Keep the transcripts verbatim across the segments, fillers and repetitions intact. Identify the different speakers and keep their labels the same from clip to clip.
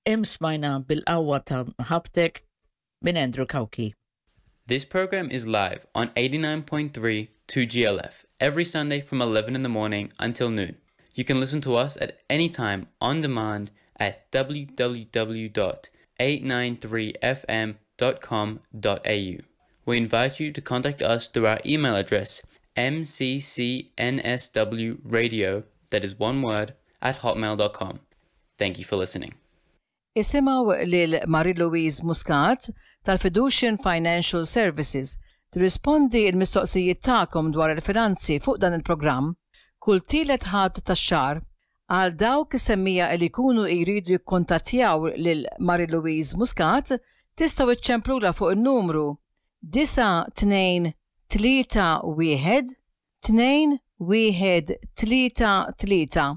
Speaker 1: Hemm smajna Bil-Qawwa ta' Mħabbtek minn Andrew Cauchi.
Speaker 2: This program is live on eighty-nine point three two G L F every Sunday from eleven in the morning until noon. You can listen to us at any time on demand at w w w dot eight nine three f m dot com dot a u. We invite you to contact us through our email address m c c n s w radio, that is one word, at hotmail dot com. Thank you for listening.
Speaker 3: Isimgħu lil Marie-Louise Muscat tal-Fiducian Financial Services tirrispondi il-mistoqsijiet tagħkom dwar il-finanzi fuq dan il-programm kull tielet Ħadd tax-xahar. Għal dawk is-semmiegħa li jkunu jridu jikkontattjaw lil Marie-Louise Muscat, tistgħu iċċemplula fuq il-numru disgħa tnejn tlieta wieħed tnejn wieħed tlieta tlieta,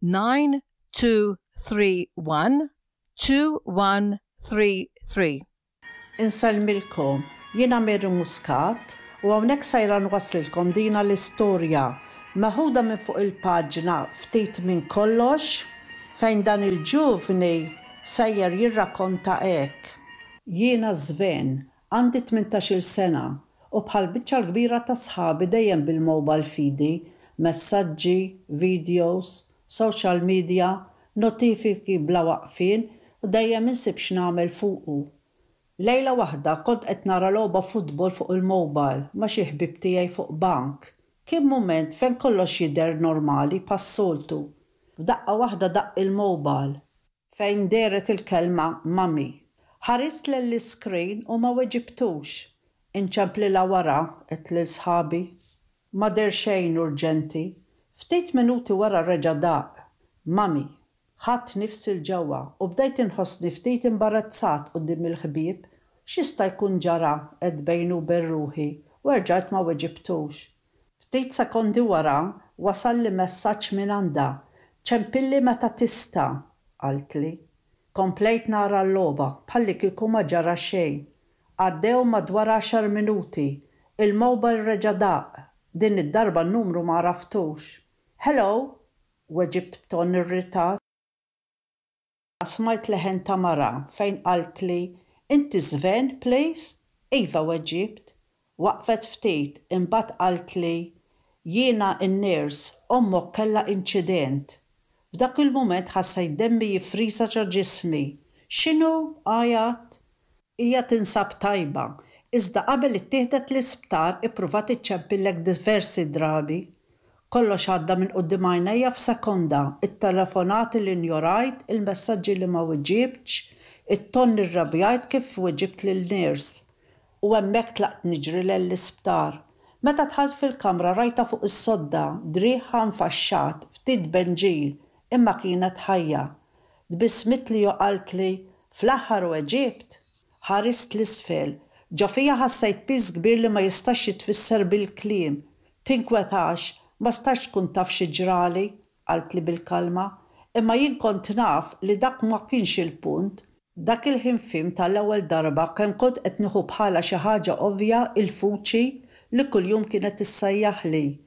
Speaker 3: nine two three one two one three three.
Speaker 4: Insellmilkom, jiena Mary Muscat u hawnhekk sejra nwaslilkom dina l-istorja meħuda minn fuq il-paġna Ftit minn Kollox, fejn dan il-ġuvni sejjer jirrakkonta hekk. Jiena Sven, għandi tmintax-il sena u bħal biċċa l-kbira ta' sħabi dejjem bil-mobile f'idi, messaġġi, videos, social media, notifiki bla waqfien u dejjem insib x'nagħmel fuqu. Lejla waħda kont qed nara logħba futbol fuq il-mobile ma' xi ħbib tiegħi fuq bank. Kien mument fejn kollox jidher normali bħas-soltu. F'daqqa waħda daqq il-mobile fejn dehret il-kelma "mummy". Ħarist l-screen u ma weġibtux. "Inċemplilha wara," għedt lil sħabi. Ma deher xejn urġenti. Ftit minuti wara reġa' daq. "Mummy." Ħadt nifsi 'l ġewwa u bdejt inħossni ftit imbarazzat quddiem il-ħbieb. "X'jista' jkun ġara?" għedt bejni u bejn ruħi u erġajt ma weġibtux. Ftit sekondi wara wasalli messaġġ minn għandha. "Ċempilli meta tista'," qaltli. Komplejt nara l-logħba bħalli kieku ma ġara xejn. Għaddew madwar għaxar minuti. Il-mobile reġa' daq. Din id-darba n-numru ma għaraftux. "Hello," weġibt b'ton irritat. Smajt leħen ta' mara fejn qaltli, "Inti Sven, please?" "Iva," weġibt. Waqfet ftit, imbagħad qaltli, "Jiena n-nurse, ommok kellha inċident." F'dak il-mument ħassejt demmi jifrisa ġo ġismi. "X'inhu?" għajjatt. "Hija tinsab tajba, iżda qabel ittieħdet l-isptar ippruvat iċċempillek diversi drabi." Kollox għadda minn quddiem għajnejja f'sekonda, it-telefonati li injorajt, il-messaġġi li ma weġibtx, it-ton irrabjajt kif weġibt lin-nurse. U hemmhekk tlaqt niġri l-isptar. Meta dħalt fil-kamra rajtha fuq is-sodda, driegħha nfaxxat, ftit benġil, imma kienet ħajja. Tbissmitli u qaltli, "Fl-aħħar weġibt." Ħarist 'l isfel. Ġo fija ħassejt piż kbir li ma jistax jitfisser bil-kliem. "Tinkwetax, ma stajtx tkun taf xi ġrali," qaltli bil-kalma, "imma jien kont naf li dak ma kienx il-punt." Dak il-ħin fhimt tal-ewwel darba kemm kont qed nieħu bħala xi ħaġa ovvja il-vuċi li kuljum kienet issejjaħli.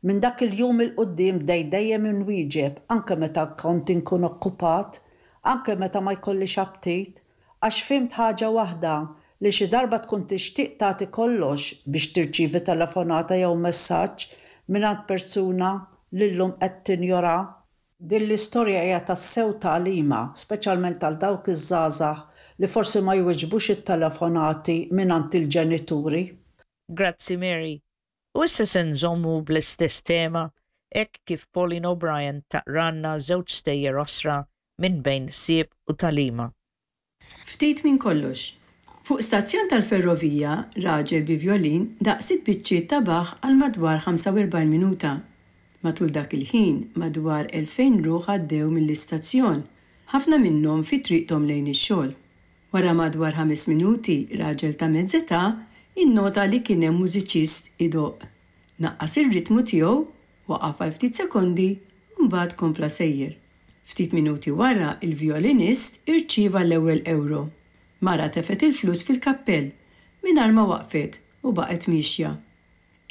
Speaker 4: Minn dak il-jum 'il quddiem bdejt dejjem inwieġeb, anke meta kont inkun okkupat, anke meta ma jkollix aptit, għax fhimt ħaġa waħda, li xi darba tkun tixtieq tagħti kollox biex tirċievi telefonata jew messaġġ mingħand persuna li llum qed tinjora. Din l-istorja hija tassew tagħlima, speċjalment għal dawk iż-żgħażagħ li forsi ma jweġbux it-telefonati mingħand il-ġenituri.
Speaker 1: Grazzi, Mary. U issa se nżommu bl-istess tema hekk kif Pauline O'Brien taqralna żewġ stejjer qosra minn bejn Ħsieb u Tagħlima.
Speaker 5: Ftit minn Kollox. Fuq stazzjon tal-ferrovija, raġel bi violin daqq sitt biċċiet ta' Bach għal madwar ħamsa u erbgħin minuta. Matul dak il-ħin, madwar elfejn ruħ għaddew mill-istazzjon, ħafna minnhom fi triqthom lejn ix-xogħol. Wara madwar ħames minuti, raġel ta' mezz'età innota li kien hemm mużiċist idoqq. Naqqas ir-ritmu tiegħu, waqaf għal ftit sekondi, u mbagħad kompla sejjer. Ftit minuti wara, il-violinist irċieva l-ewwel euro. Mara tefgħet il-flus fil-kappell mingħajr ma waqfet u baqgħet miexja.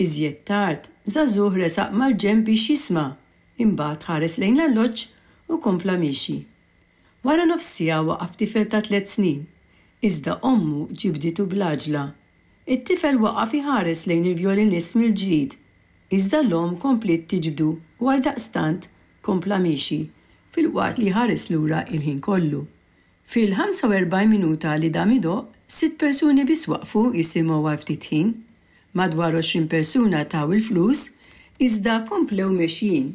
Speaker 5: Iżjed tard, żagħżugħ resaq mal-ġenb biex jisma', imbagħad ħares lejn l-alloġġ u kompla miexi. Wara nofs siegħa waqaf tifel ta' tliet snin, iżda ommu ġibditu bl-għaġla. It-tifel waqaf iħares lejn il-vjolinist mill-ġdid, iżda l-omm kompliet tiġbdu u għaldaqstant kompla miexi filwaqt li ħares lura il-ħin kollu. Fil-ħamsa u erbgħin minuta li dam idoqq, sitt persuni biss waqfu jisimgħu għal ftit ħin. Madwar għoxrin persuna taw il-flus, iżda komplew mexjin.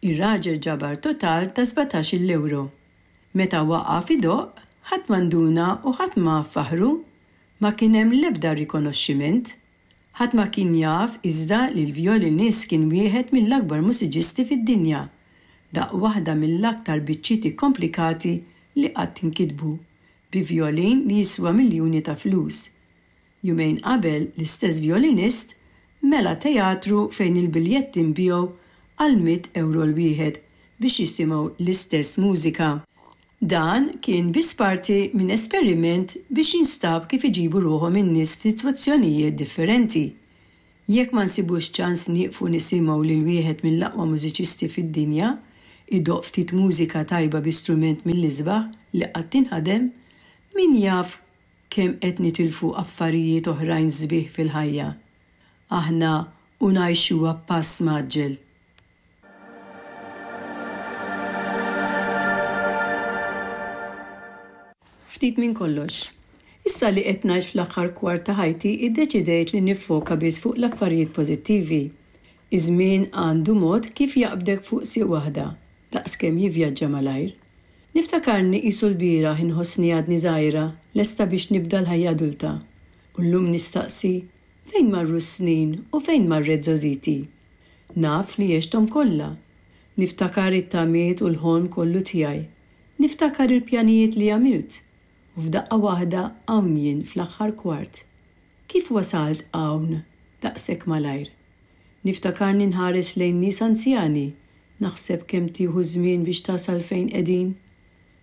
Speaker 5: Ir-raġel ġabar total ta' sbatax-il ewro. Meta waqaf idoqq, ħadd ma nduna u ħadd ma faħru. Ma kien hemm l-ebda rikonoxximent. Ħadd ma kien jaf iżda li l-vjolinist kien wieħed mill-akbar mużiċisti fid-dinja. Daqq waħda mill-aktar biċċiet ikkomplikati li qatt inkitbu, bi vjolin li jiswa miljuni ta' flus. Jumejn qabel l-istess vjolinist mela teatru fejn il-biljetti nbiegħu għal mitt ewro l-wieħed biex jisimgħu l-istess mużika. Dan kien biss parti minn esperiment biex jinstab kif iġibu ruħhom in-nies f'sitwazzjonijiet differenti. Jekk ma nsibux ċans nieqfu nisimgħu lil wieħed mill-aqwa mużiċisti fid-dinja idoqq ftit mużika tajba bi strument mill-isbaħ li qatt inħadem, min jaf kemm qed nitilfu affarijiet oħrajn sbieħ fil-ħajja. Aħna u ngħixuha b'pass mgħaġġel. Ftit minn kollox. Issa li qed ngħix fl-aħħar kwart ta' ħajti, iddeċidejt li niffoka biss fuq l-affarijiet pożittivi. Iż-żmien għandu mod kif jaqbdek fuq sieq waħda, daqskemm jivvjaġġa malajr. Niftakarni qisu l-bieraħ inħossni għadni żgħira, lesta biex nibda l-ħajja adulta. U llum nistaqsi, fejn marru s-snin u fejn marret żgħożiti? Naf li għexthom kollha. Niftakar it-tamiet u l-ħolm kollu tiegħi. Niftakar il-pjanijiet li għamilt. U f'daqqa waħda hawn jien fl-aħħar kwart. Kif wasalt hawn daqshekk malajr? Niftakarni nħares lejn nies anzjani, naħseb kemm tieħu żmien biex tasal fejn qegħdin.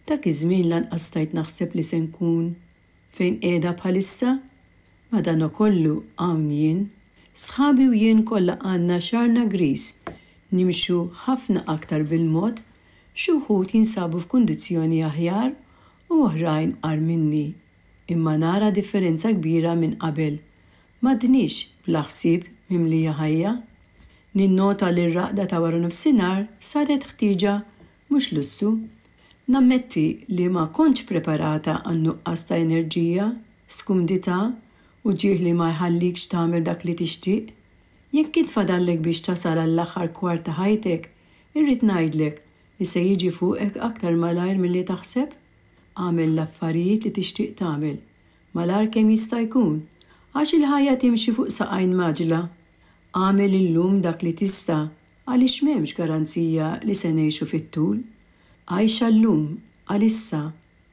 Speaker 5: Dak iż-żmien lanqas stajt naħseb li se nkun fejn qiegħda bħalissa. Madankollu hawn jien. Sħabi u jien kollha għandna xagħarna griż, nimxu ħafna aktar bil-mod, xi wħud jinsabu f'kundizzjoni aħjar u oħrajn agħar minni. Imma nara differenza kbira minn qabel. M'għadniex bla ħsieb mimlija ħajja. Ninnota li r-raqda ta' wara nofsinhar saret ħtieġa mhux lussu. Nammetti li ma kontx preparata għan-nuqqas ta' enerġija, skumdità u ġieħ li ma jħallikx tagħmel dak li tixtieq. Jekk kien fadallek biex tasal għall-aħħar kwart ta' ħajtek, irrid ngħidlek li se jiġi fuqek aktar malajr milli taħseb. Agħmel l-affarijiet li tixtieq tagħmel, malajr kemm jista' jkun, għax il-ħajja timxi fuq saqajn maġla. Agħmel illum dak li tista' għaliex m'hemmx garanzija li se ngħixu fit-tul. Għajxa llum, għalissa,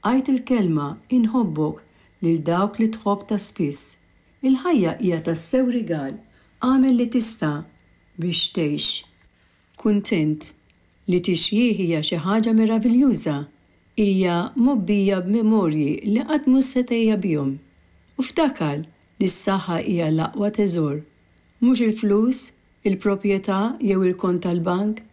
Speaker 5: għid il-kelma inħobbok lil dawk li tħobb ta' spiss. Il-ħajja hija tassew rigal, agħmel li tista' biex tgħix. Kuntent li tixjih hija xi ħaġa meraviljuża, hija mgħobbija b'memorji li qatt mhux se tgħejja bihom. U ftakar li s-saħħa hija l-aqwa teżor, mhux il-flus, il-proprjetà jew il-kont tal-bank.